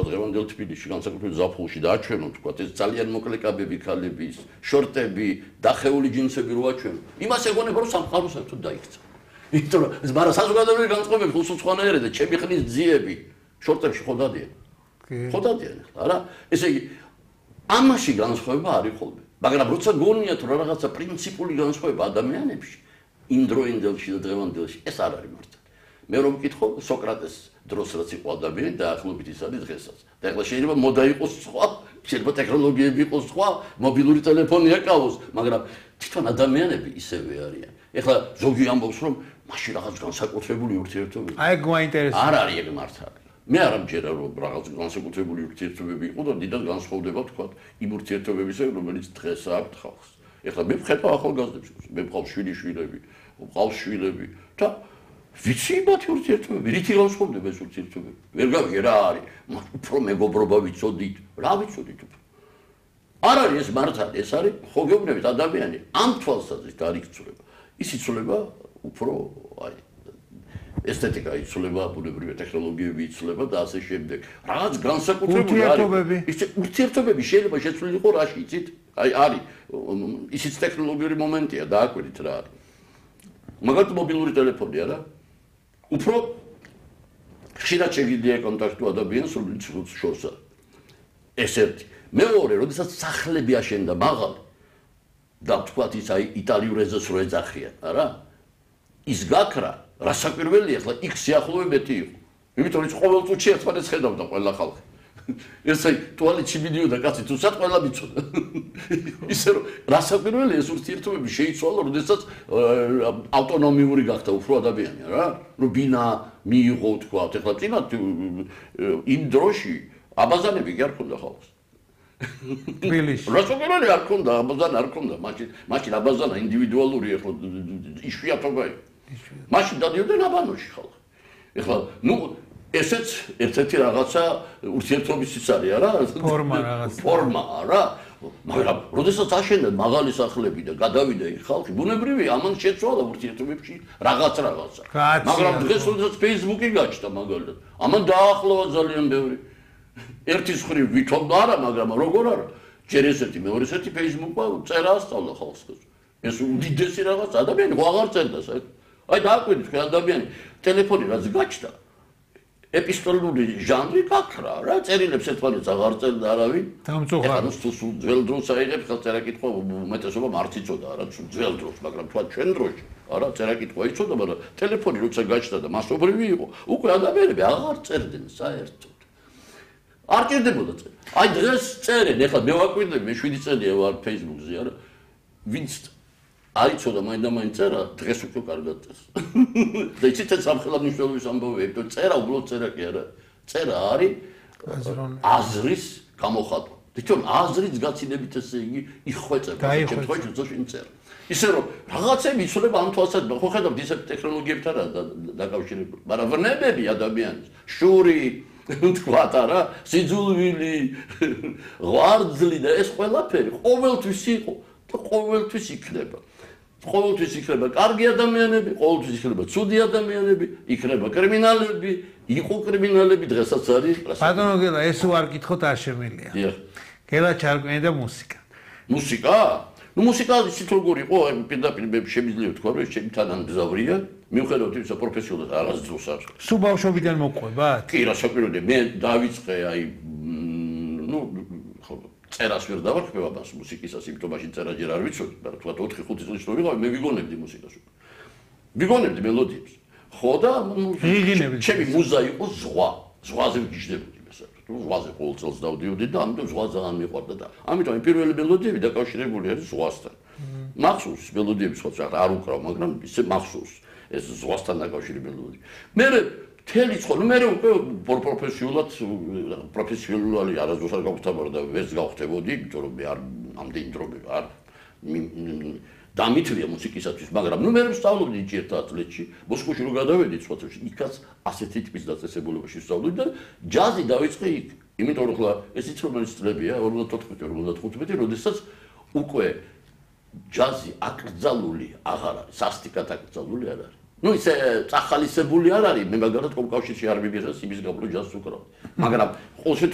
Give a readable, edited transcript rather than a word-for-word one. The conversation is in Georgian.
დღევანდელ თბილისში განსაკუთრებით ზაფხულში დააჩვენო თქვა ეს ძალიან მოკლე კაბები ქალების შორტები დახეული ჯინსები რო აჩვენო იმას ეგონება რომ სამყარო საერთოდ დაიქცა იმიტომ რომ ეს მაგრამ საზოგადოებრივი განწყობები ხუსუცხვანაერი და ჩემი ხნის ძიები შორტებში ხო დადიან არა ესე იგი ამაში განსხვავება არის ხოლმე მაგრამ როცა გონიათ რომ რაღაცა პრინციპული განსხვავება ადამიანებში იმ დროინდელში და დღევანდელში ეს არ არის მართალი მე რომ მკითხო სოკრატეს დროს რაც იყო ადამიანი დაახლოებით ის არის დღესაც და ეხლა შეიძლება მოდა იყოს სხვა შეიძლება ტექნოლოგიები იყოს სხვა მობილური ტელეფონი აკავოს მაგრამ თვითონ ადამიანები ისევე არიან ეხლა ზოგი ამბობს რომ მაშინ რაღაც განსაკუთრებული ურთიერთობები აი გვაინტერესებს არ არის ეგ მართალი მე არ ამჯერა რომ რაღაც განსაკუთრებული ურთიერთობები იყო და დიდად განსხვავდება თქვა იმ ურთიერთობებისა რომელიც დღეს აქვს ხალხს ეხლა მე ვხედავ ახალგაზრდებს მე ვყავს შვილიშვილები ვყავს შვილები და ვიცი მათი ურთიერთობები რითი განსხვავდება ეს ურთიერთობები ვერ გავიგე რა არის უფრო მეგობრობა ვიცოდით რა ვიცოდით არ არის ეს მართალი ეს არის ხო გეუბნებით ადამიანი ამ თვალსაზრისით არ იცვლება ის იცვლება უფრო აი ესთეტიკა იცვლება ბუნებრივი ტექნოლოგიები იცვლება და ასე შემდეგ რაღაც განსაკუთრებული არის ის ურთიერთობები შეიძლება შეცვლილიყო რაში იცით აი არის ისიც ტექნოლოგიური მომენტია დააკვირდით რა არის მაგალითად მობილური ტელეფონი არა უფრო ხშირად შეგიძლია კონტაქტო ადამიანს რომელიც შორსა ეს ერთი მეორე როდესაც სახლები აშენდა მაღალი და თქვათ ის აი იტალიურ ეზოს რო ეძახიან არა ის გაქრა რასაკვირველია ახლა იქ სიახლოვებეთი იყო იმიტომ რომ ყოველ წუთში ერთმანეთს ხედავდა ყველა ხალხი ესე ტუალეტში მიდიოდა კაცი თუსაც ყველა მიცოდა ისე რომ რასაკვირველია ეს ურთიერთობები შეიცვალა როდესაც ავტონომიური გახდა უფრო ადამიანი რა რომ ბინა მიიღო თქვა ახლა წინა იმ დროში აბაზანები კი არ ქონდა ხალხს თბილისში რასაკვირველია არ ქონდა აბაზანა არ ქონდა მაშინ აბაზანა ინდივიდუალური ახლა იშვიათობა მაშინ დადიოდნენ აბანოში ხალხი ახლა ნუ ესეც ერთ-ერთი რაღაცა ურთიერთობის ის არის არა ფორმა რა მაგრამ როდესაც აშენდა მაღალი სახლები და გადავიდა იქ ხალხი ბუნებრივია ამან შეცვალა ურთიერთობებში რაღაცა მაგრამ დღეს როდესაც Facebook-ი გაჩნდა მაგალითად ამან დაახლოვა ძალიან ბევრი ერთის ხრივ ვითომ არა მაგრამ როგორ არა ჯერ ესეთი მეორე ესეთი Facebook-მა წერა ასწავლა ხალხს ეს უდიდესი რაღაც ადამიანი ხო აღარ წერდა საერთოდ აი დააკვირდით ხე ადამიანი ტელეფონი რაც გაჩნდა ეპისტოლური ჟანრი გაქრა რა წერილებს ერთმანეთს აღარ წერდა არავინ დამწუხარდა სულ ძველ დროს აიღებს ხალხ წერა-კითხვა უმეტესობა მართ იცოდა არა ძველ დროს მაგრამ თქვა ჩვენ დროში არა წერა-კითხვა იცოდა მაგრამ ტელეფონი როცა გაჩნდა და მასობრივი იყო უკვე ადამიანები აღარ წერდნენ საერთოდ არ ჭირდებოდა წერა აი დღეს წერენ ეხლა მე ვაკვირდები მე 7 წელია ვარ Facebook-ზე არა ვინც აიცოდა მაინდა-მაინც წერა დღეს უკვე კარგად წერს და იცით ეს სამხელად მნიშვნელობის ამბავია იმიტომ წერა უბრალოდ წერა კი არა წერა არის აზრის გამოხატვა თვითონ აზრის გაცილებით ესე იგი იხვეწება შემთხვევაში შინ წერა ისე რომ რაღაცები იცვლება ამ თვალსაზრისით ხო ხედავთ ისეთ ტექნოლოგიებთან დაკავშირებული მაგრამ ვნებები ადამიანის შური თქვათ არა სიძულვილი ღვარძლი და ეს ყველაფერი ყოველთვის იყო და ყოველთვის იქნება ყოველთვის იქნება კარგი ადამიანები, ყოველთვის იქნება ცუდი ადამიანები, იქნება კრიმინალები, იყო კრიმინალები, დღესაც არის. ბატონო გელა, ეს ვარ კითხოთ არ შემიძლია. დიახ. გელა ჩარკვიანი და მუსიკა. მუსიკა? ნუ მუსიკა ისეთ როგორ იყო, პირდაპირ მე შემიძლია თქვა, რომ ჩემი თანამგზავრია, მიუხედავად იმისა პროფესიულად არასდროს არ. სულ ბავშვობიდან მოყვებათ? კი, რასაკვირველია, მე დავიწყე აი ნუ წერას ვერ დავარქმევ ამას მუსიკისას, იმიტომ მაშინ წერა ჯერ არ ვიცოდი, მაგრამ თქვა 4-5 წლის რო ვიყავი, მე ვიგონებდი მუსიკას. ვიგონებდი მელოდიებს. ხო და ჩემი მუზა იყო ზღვა. ზღვაზე ვგიჟდებოდი მესაკუთრებით. ზღვაზე ყოველ წელს დავდიოდი და ამიტომ ზღვა ძალიან მიყვარდა და ამიტომ პირველი მელოდიები დაკავშირებული არის ზღვასთან. მახსოვს მელოდიები სხვა არ უკრავ, მაგრამ ისე მახსოვს ეს ზღვასთან დაკავშირებული მელოდიები. მე თელი ხო მე უკვე პროფესიონალი არასდროს არ გავხდებოდა და ვერც გავხდებოდი, იმიტომ რომ მე არ ამდენი დრო არ დამითვლია მუსიკისათვის, მაგრამ ნუ მე ვსწავლობდი ერთ ატლეტში, მოსკოვში რო გადავედი სხვათაშორის, იქაც ასეთი ტიპის დაწესებულებაში ვსწავლობდი და ჯაზი დავიწყე იქ. იმიტომ რომ ხლა ეს ის რომელიც წლებია 54-55, როდესაც უკვე ჯაზი აკრძალული აღარ არის, სასტიკად აკრძალული არ არის. ნუ ისე წახალისებული არ არის, მე მაგალითად კომკავშირში არ მივიღეს იმის გაბლო ჯაზს უკრავ. მაგრამ ყოველ